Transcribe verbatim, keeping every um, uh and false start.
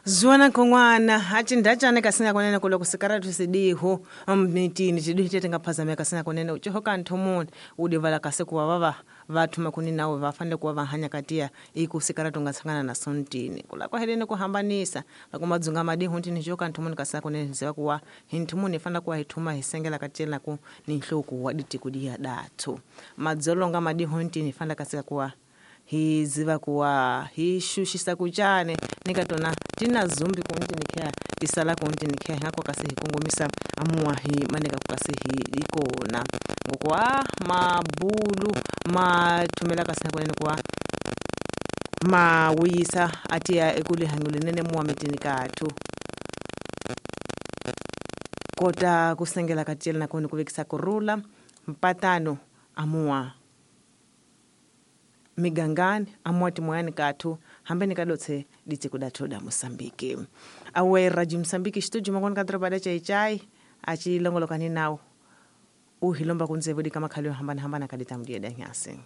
Zuwana khon'wana acindacane kasina kunene ku loko sikaratu sidiho mmitini tidiho tete nga phazameka kasina kunene uciho ka nthumuni udivala kasi kuva vava vathuma kuni nawe va fanele kuva va hanya katiya iku sikaratu nga tshangana na sontini kula kwaheleni ku hambanisa loko madzunga madiho ntini ciho ka nthumuni kasina kunene ziva kuwa hi nthumuni hi fanele kuva hi thuma hi sengela katiyela ku ni nhloko wa ditiko diya dathu madzolonga madiho ntini hi fanele kasika kuwa hi ziva kuwa hi xuxisa kucane nika tona tina zumbi kuntini khe tisala kuntini khe ngako kasi hi kongomisa amuwa hi maneka kasi hi ikona ngokuwa mabulu mathumela kasi nakunene kuwa mawuyisa atiya ekulihangulenene muwa mitini kathu kota kusengela katiyela nakoni kuvekisa kurula mpatano amuwa migangani amuwa timoyani kathu hambeni kadotse ditsi kudathu da Mosambiki awe raji Mosambiki xituju makoni ka doroba da chaichai achilongolokani nawo uhilomba kunzevu dika makhali yo hambana hambana kadita mdiye da nyasi.